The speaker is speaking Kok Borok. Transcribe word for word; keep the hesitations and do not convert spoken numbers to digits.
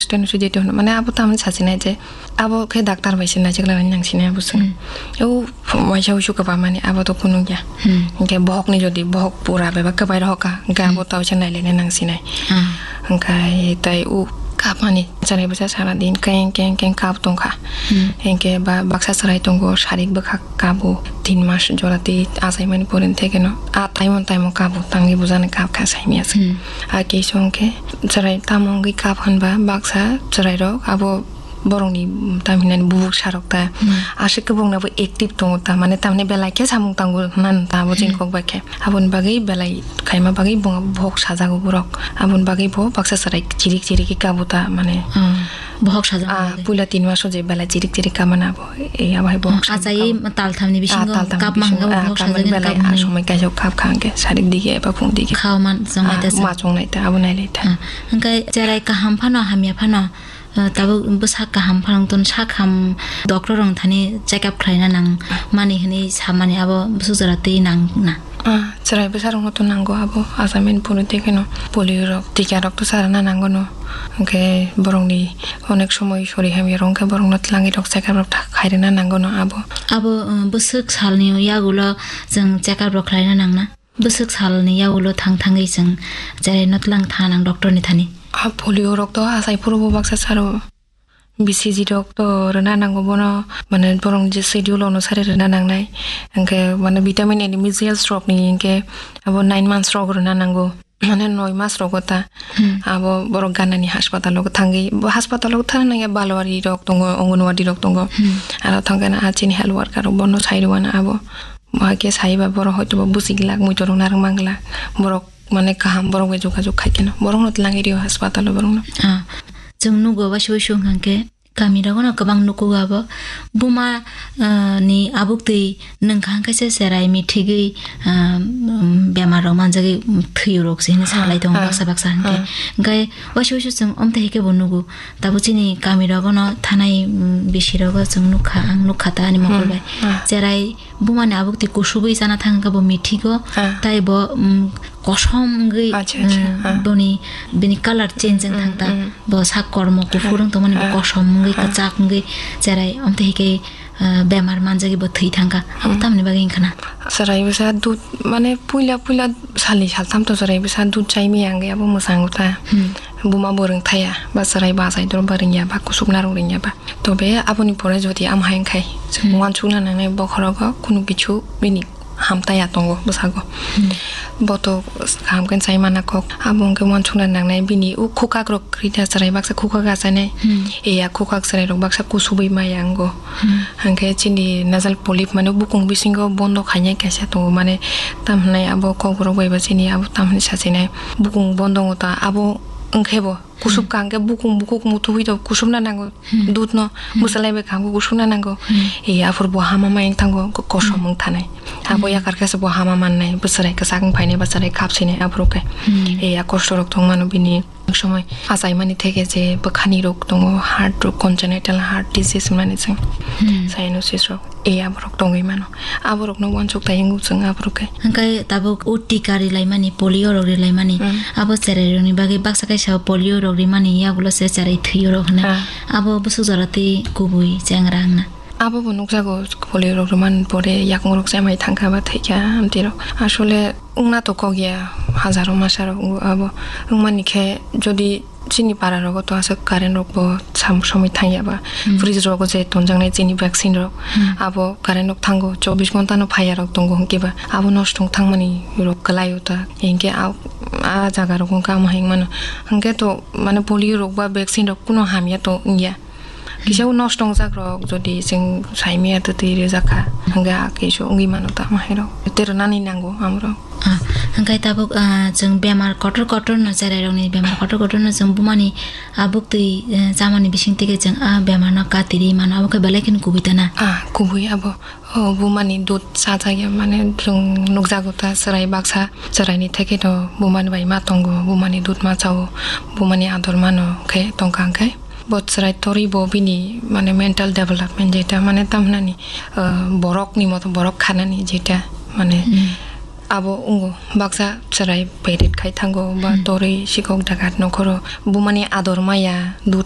Tei no sujai tongno, mane abo tamni sasinai je, abo khe doctor bai se naijakna nang sinai abo se. Hmm. O waisa uisu kwbangmani abo to kunu ya. Hmm. Hingke bohok ni jodi bohok pura beba kwbai rohoka, hingke abo Hmm. tawisa nailaina nang sinai. Ah. Hingke tai o kapmani chwrai bwsa sara din keng keng keng kap tongkha. Hmm. Hingke ba baksa chwrai tongo sarik bwkha kabo tin mas jora tei achaimani pore thekeno a taimon taimon kabo tangwi bujani kap kha saimya se. Hmm. A keisong khe chwrai tamo wngwi kap hwnba baksa chwrairok abo borokni tam hinani bubuk sarok ta Hmm. aswk khe bongni abo active tongo ta mane tamni belai khe samung tango hwnna ta abo chini Hmm. kok bai khe aboni bagwi belai khaima bagwi bo bohok sajago borok aboni bagwi bo baksa chwrai chirik chirik khe kabo ta mane Hmm. Bohok sajak Ah, bagwi. Puila tin maso je belai chirik chirik kamana abo. E, abo hai bohok Ah, sajak achai kam-, tal thamni ah, bisingo tal thamni kap bisingo, mangga ah, bohok kamani sajak belai, kap ah, mani. Somoi kaisa kap kha hwnkhe sarik digi eba phung digi. Kha man chongnai Ah, ta, chongnai ta, abo nailai ta. Ah, hwnkhe cherai kaham phano, hamya phano, ah, tabuk bwsak kaham phano ton sak ham doctor rong thani check up khlaina nang mani hwnwi samani abo bwswk jora twi nang na. Ah, chwrai bwsarokno to nango abo, achaimani phuru tei kheno polio rok, tika rok to sa rwna nango no. Hwnkhe borokni onek somoi sori hamya rok wngkhe borokno twlangwi rok check up rok tha-, khairwna nango no abo. Abo, uh, bwswk salni yagulo chwng check up rok khlaina nangna? Bwswk salni yagulo thang thangwi chwng cheraino twlang thang nang doctor ni thani? Ah, polio rok to achai phuru bo baksa saro. B C G rok to rwna nango bono, mane borok je schedule onusare rwna nangnai. Hwnkhe mane vitamin and minerals rokni hwnkhe abo nine months rok rwna nango. Mane noi mas rogo ta Hmm. abo borok ganani hospital o thangwi, bo hospital o thang nangya balwari rok tongo, Anganwadi rok tongo. Hmm. Aro thangkhe na a chini health worker rok bono sai rwna abo. Bo hakhe saiba borok hoito bo bwswi glak, muitu rok narwk man glak. Borok mane kaham borok bai jogajog khai kheno borokno twlangwi rio hospital o borokno. Ah, chwng nugo waisa waisa wngkha khe kami rogo no kwbang nukugo abo buma, ah, ni abuk twi nwngkha hwnkhe se cherai mithigwi, ah, um, bemar rok manjagwi thwi rok se hinwi Ah, salai tongo ah, baksa baksa hwnkhe. Ah. Hwnkhe waisa waisa chwng omtwi hai khe bo nugo. Tabuk chini kami rogo no thanai, um, bisi rogo chwng nukha, ang nukha ta ani mokol Hmm. bai. Ah. Cherai bumani abuk twi kusubui chana thang khe bo mithigo, Ah. tai bo, um, kosom wngwi, Acha, acha, um, ah. boni, bini colour change wng Mm, thang ta. Mm. Bo sak kormo kuphur Ah. wng tongmani bo Ah. kosom wngwi, Ah. kwchak wngwi, cherai omtwi hai khe, uh, bemar manjagwi bo thwi thang kha. Abo Mm. tamni bagwi wng khna? Cherai bwsa dud, mane puila puila salni saltham to cherai bwsa dud chai maya wngwi abo mwchang ta. Hmm. Buma bo rwng thaya, ba cherai ba achai doro ba rwngya, ba kusubna rok rwngya ba. Tobe aboni pore jodi am hai wngkhai, Hmm. uansukna nangnai bokhorogo kunu kichu bini hamtaya tongo bwsago. Hmm. Bo to kaham khe chai mana kok. Abo hwnkhe uansukna nangnai bini o khukak rok kwrwi da cherai baksa khukak achainai. Hmm. Eya khukak cherai rok baksa kusubui maya wngo. Hmm. Hwnkhe chini nasal polyp mane bukung bisingo bondo khainai kaisa tongo mane tam hwnai abo kokborok bai ba chini abo tam hwnwi sachinai bukung bondo wngta abo wngkhe bo Kusub Hmm. kaham khe bukung bukung muthubui to kusubna nango. Hmm. Dudno Hmm. mwsalai bai kaham khe kusubna nango. Hmm. E, aphuru bo hama mai wng thango, ko-, kosom Hmm. wng thanai. Abo Hmm. yakar khe se bo hama mannai, bwswrai kwchak wng phainai, bwswrai kap sinai aphuru khe. Hmm. E, ya kosto rok tong mano bini. Somoi achaimani theke je bwkhani rok tongo, heart rok, congenital heart disease hwnmani chwng Hmm. cyanosis rok. E, aborok tongwi mano. Aborokno uansuk tai wngwi chwng aborok khe. Hwnkhe tabuk o tika rilaimani, polio rok rilaimani, Mm. abo cherairokni bagwi baksa kaisa polio rok rimani yagulo se cherai thwio rok hwnwi. Ah. Abo bwswk jora tei kubui chengra wngna. Abo bo nukjago polio rok rimani pore yakung rok chemai thangkha ba thwikha amtwi rok. Asole wngna to kok ya, hajaro masa rok abo wngmani khe jodi Chini para rogo to aswk current rok bo sam somoi thang ya ba. Hmm. Fridge rogo je tonjaknai chini vaccine rok, Hmm. abo current rok thango, chobbish ghonta no phaiya rok tongo hwnkhe ba abo nosto wng thangmani rok kwlai o ta. Hinkhe a, a jaga rogo wngkha amo hai wngmano. Hinkhe to mane polio rok ba vaccine rok kuno hamya to wngya. Kisa o nosto wngjak rok jodi chwng saimaya twtwi rijak kha, hwnkhe a kisa wngwi mano ta amo hai rok. Tei rwnani nango amo rok. Ah, hwnkhe tabuk, ah, chwng bemar kotor kotor no, cherai rokni bemar kotor kotor no chwng bumani abuk twi, eh, chamani bising twi khe chwng a bemar no katirwi mano, abo khe belai kheno kubui ta na? Ah, kubui abo. O bumani dud chajak ya, mane chwng nukjago ta, cherai baksa, cherai ni theke to bumani bai ma tongo, bumani dud ma chao, bumani ador mano khe tongkha hwnkhe. Bo chwrai torwi bo bini, mane, mental development jeta, mane, tamhinani, ah, borokni moto borok khanani jeta, mane, Hmm. abo wngo baksa chwrai perit khai thango ba Hmm. torwi sikok dagat nokhoro bumani ador maya dud